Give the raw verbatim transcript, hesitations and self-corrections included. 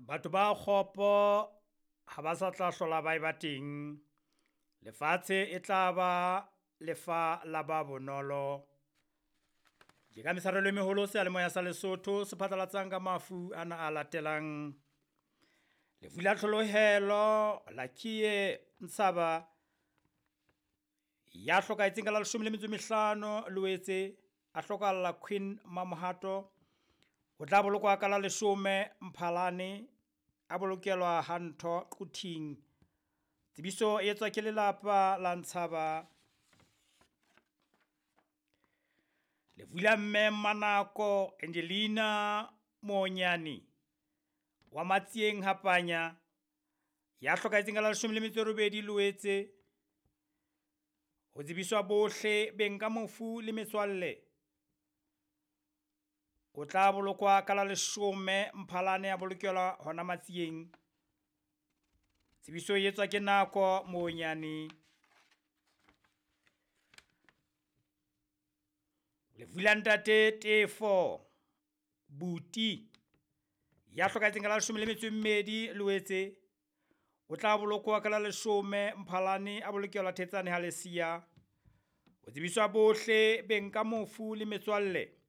Batho ba kgopo ha ba sa tla hlola ba eba teng, lefatshe e tla ba lefa la ba bonolo. Ke ka mesarelo e meholo seyalemoya sa Lesotho se phatlalatsang ka mafu ana a latelang. Lefu la tlholohelo la Kiye Ntshaba ya hlokahetseng ka la leshome le metso e mehlano Loetse, a hlokahalla Queen Mamohato. O tla bolokwa ka la leshome Mphalane, a bolokelwa ha ntho Quthing. Tsebiso e etswa ke lelapa la Ntshaba. Lefu la mme Mmanako Angelina Moonyane wa Matsieng Hapanya ya hlokahetseng ka la leshome le metso e robedi Loetse. Ho tsebiswa bohle beng ka mofu le metswalle. O tla bolokwa ka la leshome Mphalane, a bolokelwa hona Matsieng. Tsebiso e etswa ke Nako Moonyane. Lefu la ntate Tefo Buti ya hlokahetseng ka la leshome le metso e mmedi Loetse. O tla bolokwa ka la leshome Mphalane, a bolokelwa Thetsane ha Lesia. Ho tsebiswa bohle beng ka mofu le metswalle.